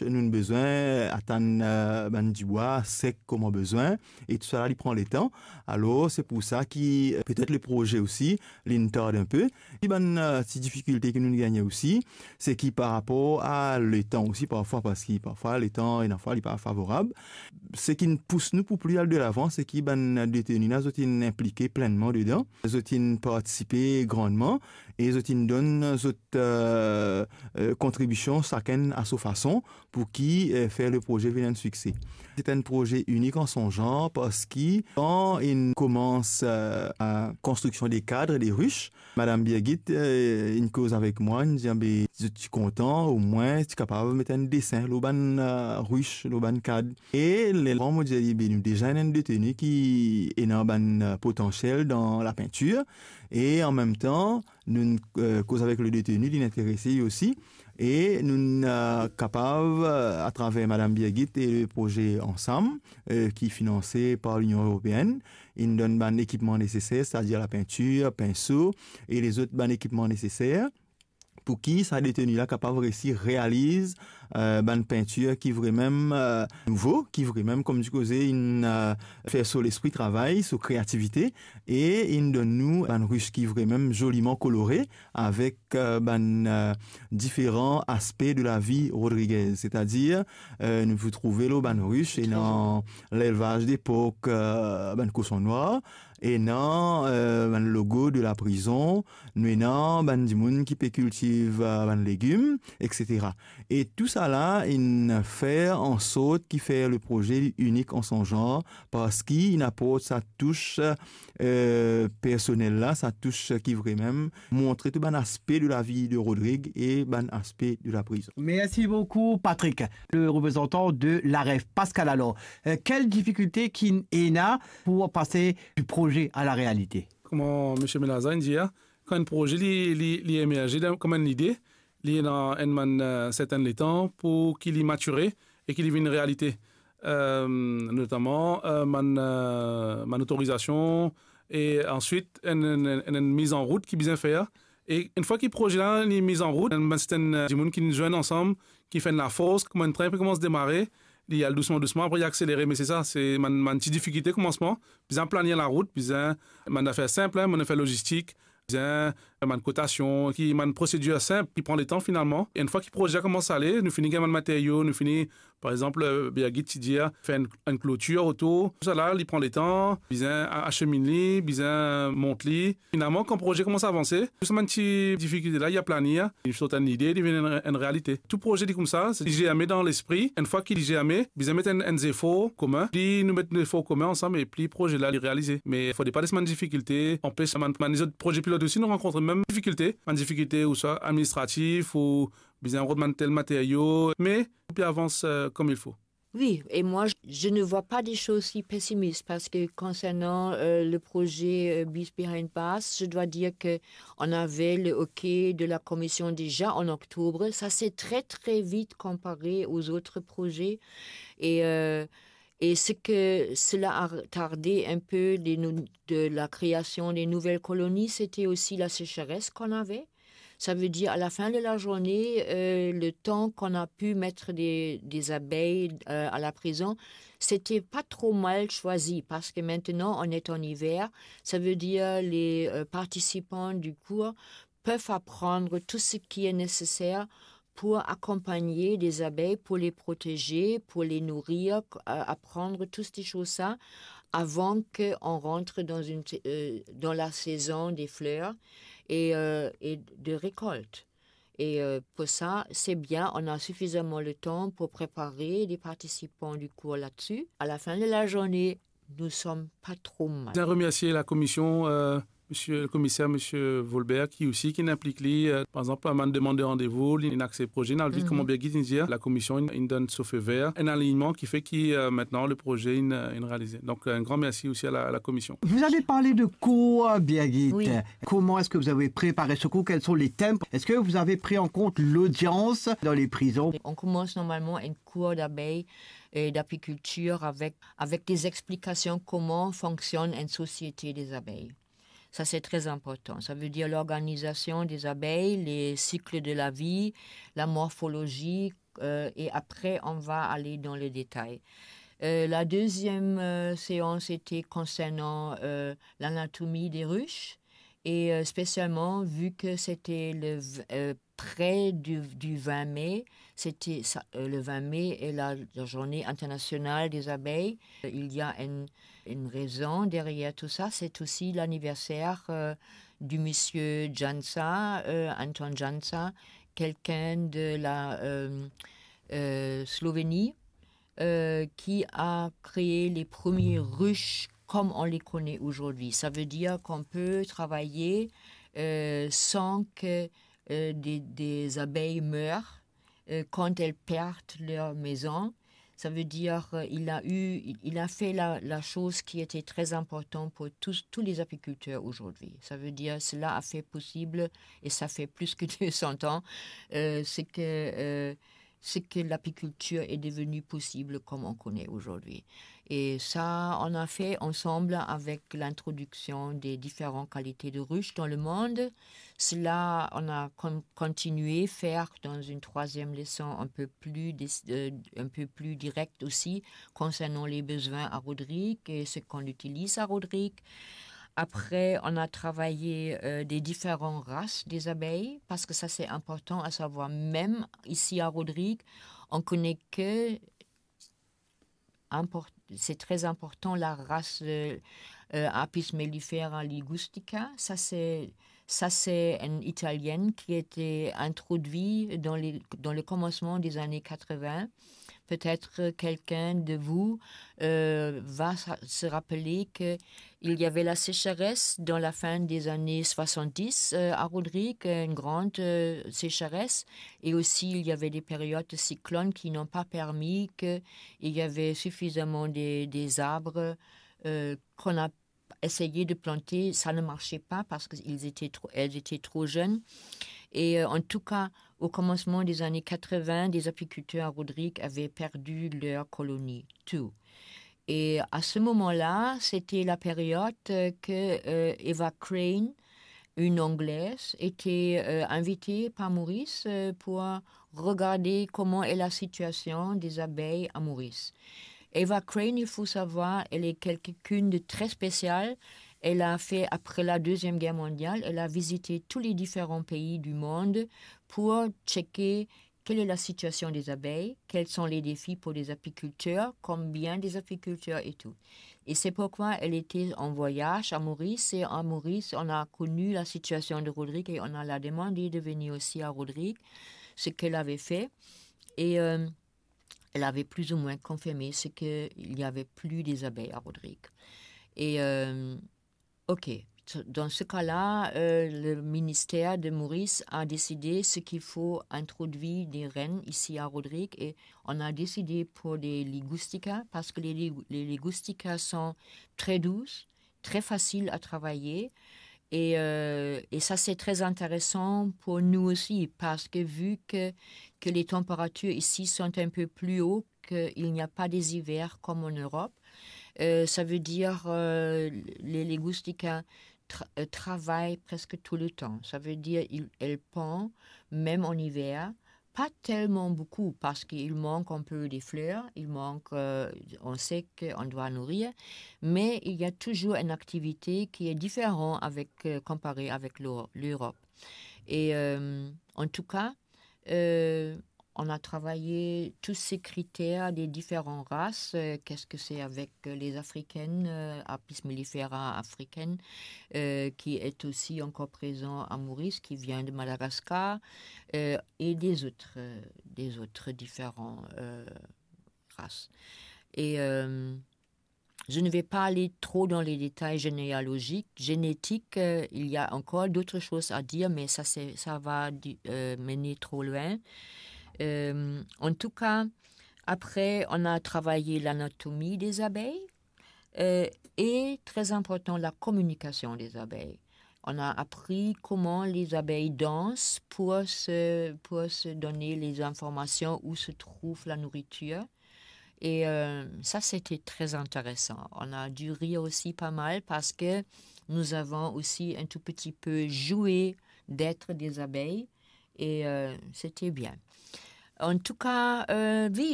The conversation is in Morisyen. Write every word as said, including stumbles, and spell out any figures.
Nou'nn bezwin atann, eh, bann dibwa sek kouma bizin, e tou sa la, li pran letan. Alor, se pou sa ki, eh, petet le proze osi, li'nn tard inpe. E bann, eh, ti difikilte ki nou'nn gagne osi, se ki par rapor a letan osi, parfwa, parski parfwa letan, ena fwa, li pa favorab. Seki'nn pous nou pou pli al de lavan, se ki bann deteni la, zot inn inplike plennman dedan, zot inn partisipe grandman, e zot inn donn zot, eh, eh, kontribision, sakenn a so fason, pou ki, eh, fer le proze vinn enn sikse. Se enn proze inik an son zanr, parski kan inn koumans, eh, a konstriksion de kad, de rich, Madam Birgit, eh, inn koz avek mwa, inn dir, "Be, zot ti kontan, omwin ti kapav met enn desin lor bann, eh, rich, lor bann kad." E lerla mo dir, "Be, nou deza ena enn deteni ki ena bann, eh, potansiel dan lapintir." E an mem tan, nou, eh, koz avek le deteni, li interese li osi. E nou, eh, kapav, eh, atraver Madam Birgit e le proze Ansam, eh, ki finanse par Linion Eropeenn, inn donn bann ekipman neseser, setadir lapintir, pinso e lezot bann ekipman neseser, pou ki sa deteni la kapav resi realiz, eh, bann pintir ki vremem, eh, nouvo, ki vremem, kouma dir koze, inn, eh, fer so lespri travay, so kreativite, e inn donn nou bann rich ki vremem zoliman kolore, avek, eh, bann, eh, diferan aspe de lavi Rodriguez. Setadir, eh, nou pou trouve lor bann rich, ena lelvaz de pork, eh, bann koson nwar, ena, eh, bann logo de laprizon, nou ena bann dimoun ki pe kiltiv, eh, bann legim, et cetera. E tou sa la inn fer ansort ki fer le proze inik an son zanr, parski inn aport sa tous, eh, personel la, sa tous ki vremem montre tou bann aspe de lavi de Rodrig e bann aspe de laprizon. Merci beaucoup, Patrick, le représentant de l'AREF. Pascal, alors, euh, quelle difficulté qu'il y a pour passer du projet à la réalité ? Kouma misie Melaza inn dir, kan enn proze li, li, li emerze dan, kouma enn lide, li ena enn bann, eh, sertin letan pou ki li matire e ki li vinn realite. Eh, notaman, eh, bann, eh, bann otorizasion e answit enn, enn, enn, enn miz an rout ki bizin fer. E enn fwa ki proze la li miz an rout, enn bann sertin, eh, dimoun ki zwenn ansam, ki fer enn lafors, kouma enn trin pe koumans demare, li al dousman, dousman, apre li akselere. Me se sa, se bann, bann ti difikilte koumansman. Bizin planir larout, bizin bann zafer sinp, hein, bann zafer lozistik, bizin bann kotasion, ki bann prosedir sinp ki pran letan finalman. E enn fwa ki proze la koumans ale, nou fini gagn bann materio, nou fini, par exanp, eh, Birgit ti dir, fer enn, enn klotir otour. Tou sa la, li pran letan, bizin a-, aseminn li, bizin mont li. Finalman, kan proze koumans avanse, tou sa bann ti difikilte la, li a planir, li sort enn lide, li vinn enn, enn realite. Tou proze li koumsa, se li zerme dan lespri. Enn fwa ki li zerme, bizin met enn, enn zefor komin. Pli nou met zefor komin ansam, e pli proze la li realize. Me fode pa les bann difikilte anpes bann, bann lezot proze pilot osi, nou rankontre mem difikilte. Bann difikilte ouswa administratif, ou bizin rod bann tel materio, me pou avans, eh, comme il faut. Oui, et moi, je, je ne vois pas des choses si pessimistes parce que concernant, euh, le projet, euh, Bees Behind Bars, je dois dire que on avait le OK de la commission déjà en octobre. Ça s'est très, très vite comparé aux autres projets. Et, euh, et ce que cela a retardé un peu les nou-, de la création des nouvelles colonies, c'était aussi la sécheresse qu'on avait. Ça veut dire, à la fin de la journée, euh, le temps qu'on a pu mettre des, des abeilles, euh, à la prison, c'était pas trop mal choisi parce que maintenant, on est en hiver. Ça veut dire, les, euh, participants du cours peuvent apprendre tout ce qui est nécessaire pour accompagner les abeilles, pour les protéger, pour les nourrir, euh, apprendre toutes ces choses-là avant qu'on rentre dans une, euh, dans la saison des fleurs et, euh, et de récolte. Et, euh, pour ça, c'est bien, on a suffisamment le temps pour préparer les participants du cours là-dessus. À la fin de la journée, nous sommes pas trop mal. Je remercie la commission, euh, monsieur le commissaire, monsieur Volbert, ki osi, ki inplik li, euh, par exanp, bann demann de randevou, li inn aksepte proze, nou al vit, kouma Birgit inn dir, la commission inn, inn donn so feu vert, un alignement qui fait que, euh, maintenant le projet inn, inn realize. Donc, un grand merci aussi à la, à la commission. Vous avez parlé de cours, Birgit. Oui. Comment est-ce que vous avez préparé ce cours ? Quels sont les thèmes ? Est-ce que vous avez pris en compte l'audience dans les prisons ? On commence normalement un cours d'abeilles et d'apiculture avec, avec des explications comment fonctionne une société des abeilles. Ça, c'est très important. Ça veut dire l'organisation des abeilles, les cycles de la vie, la morphologie, Euh, et après, on va aller dans le détail. Euh, la deuxième, euh, séance était concernant, euh, l'anatomie des ruches, et, euh, spécialement vu que c'était le v-, euh, près du, du vingt mai, c'était ça, euh, le vingt mai est la, la journée internationale des abeilles. Euh, il y a une, une raison derrière tout ça, c'est aussi l'anniversaire, euh, du monsieur Jansa, euh, Anton Jansa, quelqu'un de la, euh, euh, Slovénie, euh, qui a créé les premières ruches comme on les connaît aujourd'hui. Ça veut dire qu'on peut travailler, euh, sans que, euh, des, des abeilles meurent, euh, quand elles perdent leur maison. Ça veut dire, euh, il a eu, il, il a fait la, la chose qui était très importante pour tous, tous les apiculteurs aujourd'hui. Ça veut dire, cela a fait possible, et ça fait plus que deux cents ans, euh, c'est que, euh, c'est que l'apiculture est devenue possible comme on connaît aujourd'hui. Et ça, on a fait ensemble avec l'introduction des différentes qualités de ruches dans le monde. Cela, on a con-, continué faire dans une troisième leçon un peu plus dé-, euh, un peu plus directe aussi, concernant les besoins à Rodrigues et ce qu'on utilise à Rodrigues. Après, on a travaillé, euh, des différentes races des abeilles, parce que ça, c'est important à savoir. Même ici à Rodrigues, on connaît que import-, c'est très important, la race, euh, euh, Apis mellifera ligustica. Ça, c'est, ça, c'est une Italienne qui était introduite dans les, dans le commencement des années quatre-vingts. Peut-être quelqu'un de vous, euh, va sa-, se rappeler que il y avait la sécheresse dans la fin des années soixante-dix, euh, à Rodrigues, une grande, euh, sécheresse. Et aussi, il y avait des périodes de cyclones qui n'ont pas permis que il y avait suffisamment des, des arbres, euh, qu'on a essayé de planter. Ça ne marchait pas parce qu'ils étaient trop, elles étaient trop jeunes. Et, euh, en tout cas, au commencement des années quatre-vingts, des apiculteurs à Rodrigues avaient perdu leur colonie, tout. Et à ce moment-là, c'était la période, euh, que, euh, Eva Crane, une Anglaise, était, euh, invitée par Maurice, euh, pour regarder comment est la situation des abeilles à Maurice. Eva Crane, il faut savoir, elle est quelqu'une de très spécial. Elle a fait, après la Deuxième Guerre mondiale, elle a visité tous les différents pays du monde pour checker quelle est la situation des abeilles, quels sont les défis pour les apiculteurs, combien des apiculteurs et tout. Et c'est pourquoi elle était en voyage à Maurice. Et à Maurice, on a connu la situation de Rodrigues et on a la demandé de venir aussi à Rodrigues, ce qu'elle avait fait. Et, euh, elle avait plus ou moins confirmé ce qu'il n'y avait plus des abeilles à Rodrigues. Et, euh, ok, dans ce cas-là, euh, le ministère de Maurice a décidé ce qu'il faut introduire des reines ici à Rodrigues et on a décidé pour des ligusticas parce que les, lig-, les ligusticas sont très douces, très faciles à travailler. Et, euh, et ça, c'est très intéressant pour nous aussi, parce que vu que, que les températures ici sont un peu plus hautes, qu'il n'y a pas des hivers comme en Europe, euh, ça veut dire, euh, les, les ligusticas tra-, euh, travaillent presque tout le temps. Ça veut dire, ils, elles pondent même en hiver, pas tellement beaucoup parce qu'il manque un peu des fleurs, il manque, euh, on sait qu'on doit nourrir, mais il y a toujours une activité qui est différente avec, euh, comparée avec l'Eu-, l'Europe. Et, euh, en tout cas, euh, on a travaillé tous ces critères des différentes races. Euh, qu'est-ce que c'est avec, euh, les Africaines, euh, Apis mellifera africaine, euh, qui est aussi encore présent à Maurice, qui vient de Madagascar, euh, et des autres, euh, des autres différents, euh, races. Et, euh, je ne vais pas aller trop dans les détails généalogiques, génétiques. Euh, il y a encore d'autres choses à dire, mais ça, c'est, ça va di-, euh, mener trop loin. Euh, en tout cas, après, on a travaillé l'anatomie des abeilles, euh, et, très important, la communication des abeilles. On a appris comment les abeilles dansent pour se, pour se donner les informations où se trouve la nourriture. Et, euh, ça, c'était très intéressant. On a dû rire aussi pas mal parce que nous avons aussi un tout petit peu joué d'être des abeilles. Et, euh, c'était bien. Antouka, euh, wi,